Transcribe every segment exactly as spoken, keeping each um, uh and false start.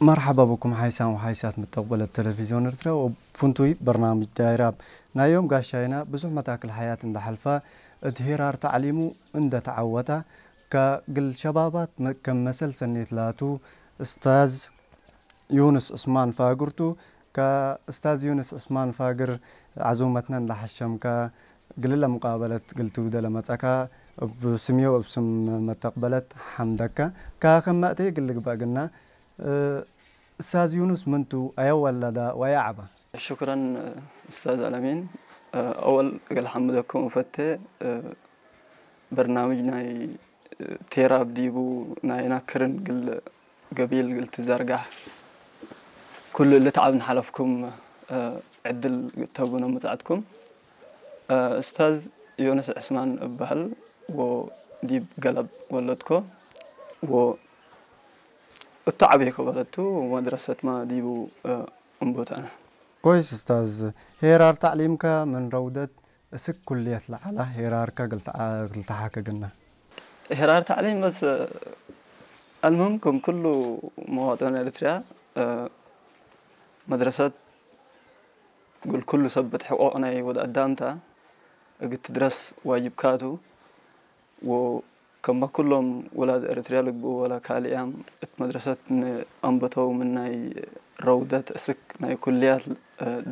መርሐባ ብኩም ሓይሳም ወሓይሳት መተቅበለት ተለቪዝዮን ኤርትርያ ወፍንቱይ በርናምጅ ዳይራብ። ናይ ዮም ጋሻይና ብዙሕ መታክል ሐያት እንደ ሐልፈ፣ እት ሄራር ተዕሊሙ እንደ ተዐወተ፣ ከእግል ሸባባት መ-፣ ከም መሰል ሰኔት ላቱ እስታዝ ዩንስ ዑስማን ፋግር ቱ። ከእስታዝ ዩንስ ዑስማን ፋግር ዐዙመትነ እንደ ሐሸምከ፣ እግልለ ሙቃበለት እግል ትውደ ለመጸእከ፣ እብ ስምዮ እብ ስም መተቅበለት ሐምደከ። ከክመ እቴ እግል ልግበእ ግና፣ እ፣ እስታዝ ዩንስ ምን ቱ? አየ ወለደ ወአየ ዐበ? ሽክረን እስታዝ አልአሚን። አወል እግል ሐምደኩም እፈቴ፣ በርናምጅ ናይ ቴራብ ዲቡ ናይና ክርን እግል ገቢል እግል ትዘርጋሕ ኩሉ እሊ ተዓብ እንሓለፍኩም ዕድል ተቡነ መጽአትኩም። እስታዝ ዮንስ ዕስማን እበህል ወዲብ ገለብ ወለድኮ ወ እቱ ዐቤኮ በለቱ ወመድረሰትመ ዲቡ እንቡት አነ። ኮይስ እስታዝ፣ ሄራር ተዕሊምከ ምን ረውደት እስክ ኩልየት ለዐለ ሄራርከ እግል ተዓ-፣ እግል ተሓከ ግነ። ሄራር ተዕሊም በስ፣ አልሙህም ክም ኩሉ መዋጥን ኤሪትርያ፣ መድረሰት እግል ኩሉ ሰብ እት ሕቆቅ ናይ ወድ አዳም ተ፣ እግል ትድረስ ዋጅብካ ቱ። ወከመ ኩሎም ውላድ ኤሪትርያ ልግብኡ ወለ ካልያም እት መድረሰት ምን አንበተው ምን ናይ ረውደት እስክ ናይ ኩልያት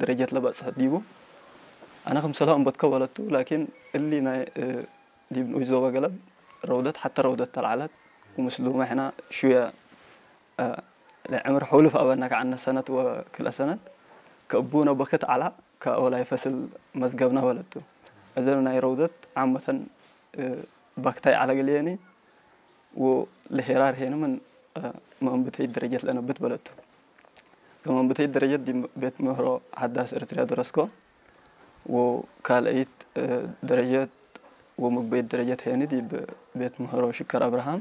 ደረጀት ለበጽሐት ዲቡ። አነ ክምሰልሁ አንበትከ ወለቱ፣ ላኪን እሊ ናይ ዲብ ንኡሽ ዞበ ገለብ ረውደት ሐተ ረውደት ተልዓለት ወምስሉመ ሕነ ሹየ ለዕምር ሑልፍ አበነ ከዐነ ሰነት ወክልኤ ሰነት ከእቡነ በክት ዐላ ከአወላይ ፈስል መዝገብነ በለቱ። እዘን ናይ ረውደት ዓመተን በክታይ ዐለ ግልየኒ ወለሄራር ሄኒ ምን መአንብተይት ደረጀት ለነብት በለቱ። ከመንብተይት ደረጀት ዲብ ቤት ምህሮ ሐዳስ ኤርትርያ ደረስኮ። ወካልአይት ደረጀት ወምግበይት ደረጀት ሄኒ ዲብ ቤት ምህሮ ሽከር አብርሃም።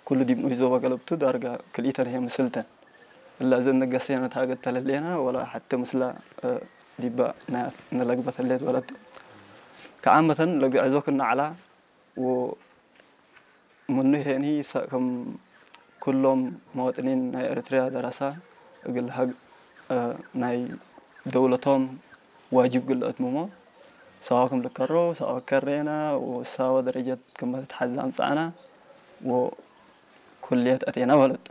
ኩሉ ዲብ ንኡሽ ዞበ ገለብቱ ዳርጋ ክልኢተን ህዬ ምስልተን። እለ እዘ እንገሰየነ ታገት ተለሌነ ወላ ሐቴ ምስላ ዲበ ነለግበት ህሌት በለቱ። ከዓመተን ለግዕዞ ክነ ዐላ ወ ምኑ ሄኒ ሰ-፣ ክም ኩሎም መዋጥኒን ናይ ኤሪትርያ ደረሰ፣ እግል ሀግ፣ እ፣ ናይ ደውለቶም ዋጅብ እግል ለአትምሞ፣ ሰዋ ክም ልከሮ፣ ሰዋ ከሬነ፣ ወሳወ ደረጀት ክም ልትሐዜ አምጸአነ፣ ወኩልየት አቴነ በለቱ።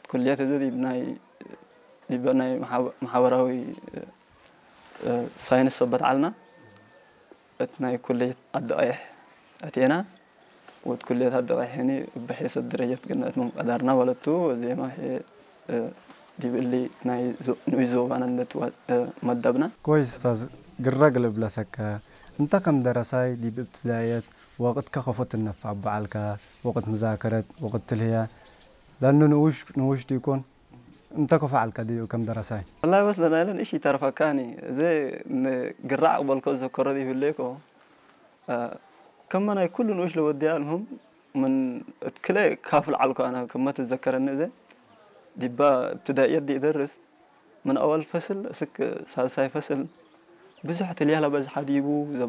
ኩልየት እዘ ዲብ ናይ፣ ዲበ ናይ መሓበ-፣ መሓበራዊ፣ እ፣ ሳይንስ ሰበት ዐልነ። እት ናይ ኩልየት አደቃይሕ አቴና፣ ወእት ኩልየት አደቃይሕ ህኒ እብ ሔሰት ደረጀት ግነ እት ምን ቀደርና ወለቱ፣ ወዜማ ህዬ፣ እ፣ ዲብ እሊ ናይ ዞ-፣ ንኡሽ ዞባነ እንዴ ትወ-፣ እ፣ መደብነ። ኮይስ እስታዝ፣ ግረ እግል እብለሰከ፣ እንተ ከም ደረሳይ ዲብ እብትዳእየት ወቅትከ ከፎ ትነፈዕ እቡ ዐልከ፣ ወቅት መዛከረት፣ ወቅት ትልህየ፣ ለእኑ ንኡሽ፣ ንኡሽ ዲኮን፣ እንተ ከፎ ዐልከ ዲብ ከም ደረሳይ? ወላሂ በስ ለናይለን እሺ ኢተርፈካኒ። እዜ ን-፣ ግራ አቅበልኮ ዘከሮ ዲብ ህሌኮ፣ አ፣ ከመ ናይ ኩሉ ንኡሽ ለወድየ፣ አልሙህም ምን እት ክልኤ ካፍል ዐልኮ አነ ክመ ትዘከረኒ እዜ ዲባ እብትዳእየት ዲእደርስ ምን አወል ፈስል እስክ ሳልሳይ ፈስል ብዙሕ ትልያ ለበዝሐ ዲቡ